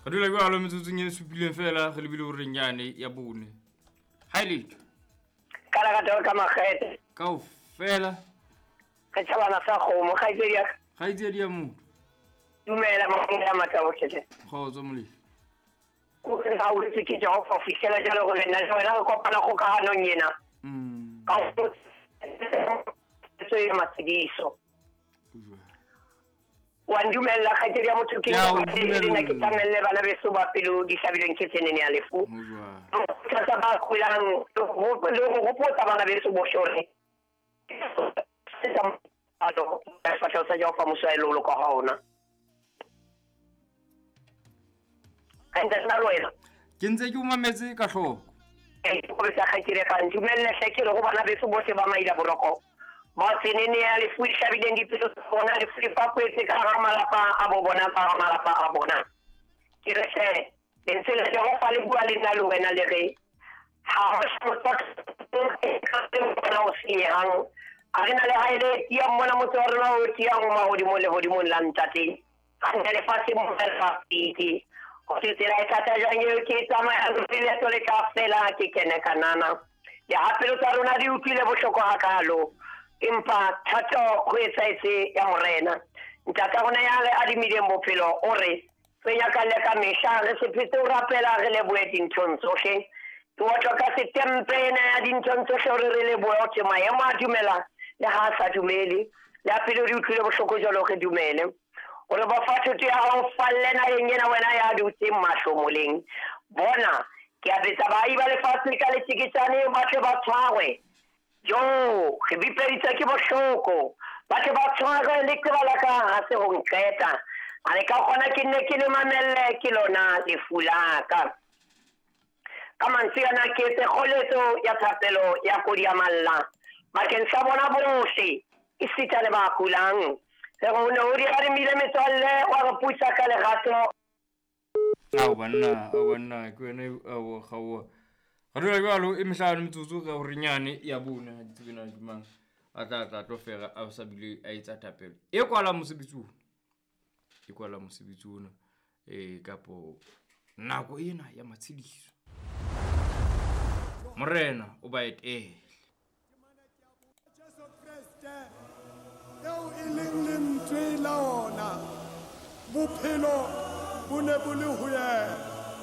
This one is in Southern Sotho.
Re dula jwalo metsotsong e supileng fela re lebile horeng yane ya bone. Ha e letho. Ka lerato ka makgethe. Kaofela. Re tjhabana sa kgomo kgaitsedi ya ka. Kgaitsedi ya motho. Dumela Modimo ya matla ohle. Kgotso Molefi. Ko re hauhetswe ke Jehova ho fihlela jwale hore nna le wena re kopana kgokahanong ena. Ka ho ya matshediso. Wa ndumella kgaitsedi ya motho ke nna ke tlamelle bana beso ba pelo di hlabilweng ke tsenene ya lefu. Kgothatsa ba kulang le ho hopotsa bana beso bohle hore sefahleho sa Jehova Muso wa loloka ha ona. Hantle nna le wena. Ke ntse ke o mametse ka hloko. Ke sa kgaitsedi ka ntumelle hle ke re ho bana beso bohle ba maila boroko. Ba tsenene ya lefu e hlabileng dipelo tsa bona, lefu le fapoetse ka hara malapa a bo bona, ka hara malapa a bona. Ke re hle, lentswe la Jehova le bua le nna le wena le re, ha ho bona o senyehang, a re na le hae le tiyang mona motse wa rona o tiyang o mahodimong lehodimong la ntate. Ga lefatshe mo fela go se tsela e thata jang eo ke e tsamayang leeto le tla fela ke kene kanana. Le ha pelo tsa rona di utlwile bohloko hakalo, empa thato ho etsahetse ya Morena. Ntata rona ya re adimileng bophelo o re re nyakalle ka mehla, re se phetse ho rapela, re lebohe dinthong tsohle. Ke otlwa ka setempe ena ya dinthong tsohle hore re lebohe hore maemo a dumela le ha a sa dumele. Le ha pelo di utlwile bohloko jwalo re dumele. O re ba fa thoto ya hao falle naheng ena wena ya dutseng mahlomoleng. Bona, ke a betsa baahi ba lefatshe ka letjeketjane ba tle ba tshwarwe. Jo, re bipeditswe ke bohloko. Ba tle ba tshwarwe leqeba la ka ha se ho nqeta. A le ka kgona ke nne ke le mamelle ke lona lefu la ka. Ka mantswe ana ke etse kgoletso ya thapelo ya kodi ya malla bakeng sa bona bohle, esita le ba kulang. Re re o ne o di adimile metswalle, wa re putsa ka lerato. Ao banna, ao banna, ke wena ao kgaoha. Re dula jwalo e mehlano metsotso ka hore nyane ya bone ha di tsebe na ke mang a tla tla tlo fera a sa bile a etsa thapelo. E kwala mosebetsi ona. E kwala mosebetsi ona eh kapo nako ena ya matshediso. Morena o ba etele. Jesu Kreste eo e leng lentswe la ona, bophelo bo ne bo le ho yena.